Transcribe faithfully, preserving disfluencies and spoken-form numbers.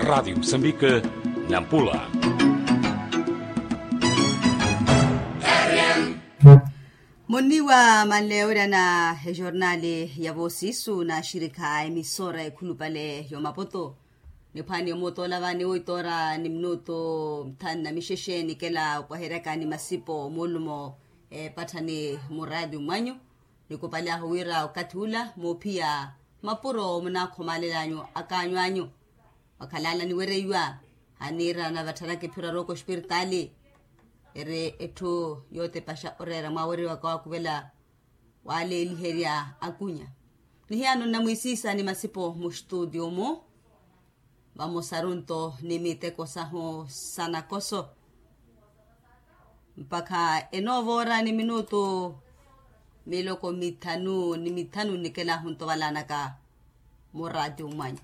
Raadio musambika, nampula. Monniwa manleya wira na ejornali ya voosiisu na axirikha a emisora ekhulupale ya omaputu. Niphwani omuutola vani woitoora ni minutu nthanu na mixexe nikela opwaheryaka ni masipo moolumo epatthani muraati mwanyu. Nikupalyahu wira okathi ula moophiya mapuro munaakhomaalelanyu akaanyu anyu. Wakhalala niwereiwa haniira navattharaka ephiro arooko ospiritaali eri etthu yootepaxa oreera mwawereiwaka waakuvela waaleeliherya akunya. Nihiyano nnamwiisiisa ni masipo mustutio-mu vamosaru nto ni miteko sahu sa nakoso. Mpakha enoova ora ni minutu miloko mithanu ni mithanu nikelahu nto valanaka muraati mwanyu.